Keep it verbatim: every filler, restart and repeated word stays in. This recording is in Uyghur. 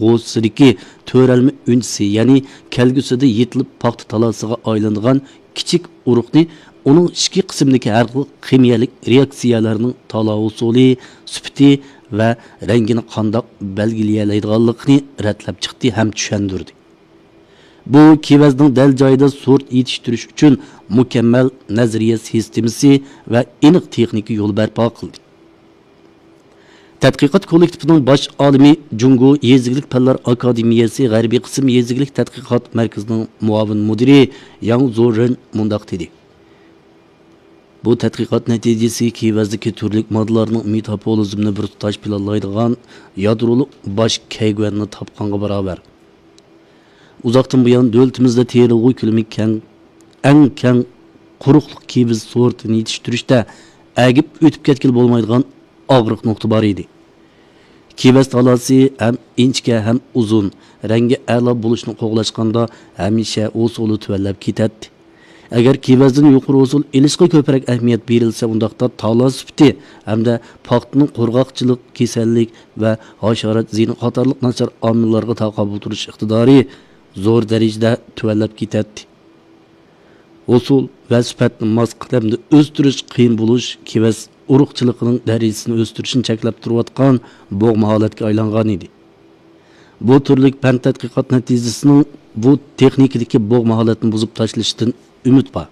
غوسىسىدىكى تۆرەلمە ئۈنچىسى، يەنى كەلگۈسىدە يېتىلىپ پاختا تالاسىغا ئايلىنىدىغان كىچىك ئۇرۇقنى ئۇنىڭ ئىچكى قىسمىدىكى ھەر خىل خىمىيەلىك رېئاكسىيەلەرنىڭ تالا ئۇسۇلى، سۈپىتى ۋە رەڭگىنى قانداق بەلگىلىيەلەيدىغانلىقىنى رەتلەپ چىقتى ھەم چۈشەندۈردى. بۇ كېۋەزنىڭ دەل جايىدا سورت يېتىشتۈرۈش ئۈچۈن مۇكەممەل نەزەرىيە سىستېمىسى ۋە ئېنىق تېخنىكا يولى بەرپا قىلدى. تەتقىقات كوللېكتىپىنىڭ باش ئالىمى، جۇڭگو يېزا ئىگىلىك پەنلەر ئاكادېمىيەسى غەربىي قىسىم يېزا ئىگىلىك تەتقىقات مەركىزىنىڭ مۇئاۋىن مۇدىرى ياڭ زورېن مۇنداق دېدى: بۇ تەتقىقات نەتىجىسى كېۋەزدىكى تۈرلۈك ماددىلارنىڭ مېتابولىزمنى بىر تۇتاش پىلانلايدىغان يادرولۇق باش كەيگۈەننى تاپقانغا باراۋەر. ئۇزاقتىن بۇيان دۆلىتىمىزدە تېرىلغۇ كۆلىمى كەڭ، ئەڭ كەڭ قۇرۇقلۇق كېۋىز سورتىنى يېتىشتۈرۈشتە ئەگىپ ئۆتۈپ كەتكىلى بولمايدىغان ئاغرىق نۇقتا بار ئىدى. كېۋەز تالاسى ھەم ئىنچىكە ھەم ئۇزۇن، رەڭگى ئەلا بولۇشنى قوغلاشقاندا ھەمىشە ئۇسۇلى تۆۋەنلەپ كېتەتتى. ئەگەر كېۋەزدىن يۇقىرى ھوسۇل ئېلىشقا كۆپرەك ئەھمىيەت بېرىلسە، ئۇنداقتا تالا سۈپىتى ھەمدە پاختىنىڭ قۇرغاقچىلىق، كېسەللىك ۋە ھاشارات زىيىنى قاتارلىق ناچار ئامىللارغا تاقابىل تۇرۇش ئىقتىدارى زور دەرىجىدە تۆۋەنلەپ كېتەتتى. ھوسۇل ۋە سۈپەتنى ماس قەدەمدە ئۆستۈرۈش قىيىن بولۇش كېۋەز ئۇرۇقچىلىقىنىڭ دەرىجىسىنى ئۆستۈرۈشنى چەكلەپ تۇرۇۋاتقان بوغما ھالەتكە ئايلانغان ئىدى. بۇ تۈرلۈك پەن تەتقىقات نەتىجىسىنىڭ بۇ تېخنىكىدىكى بوغما ھالەتنى بۇزۇپ تاشلىشىدىن ئۈمىد بار.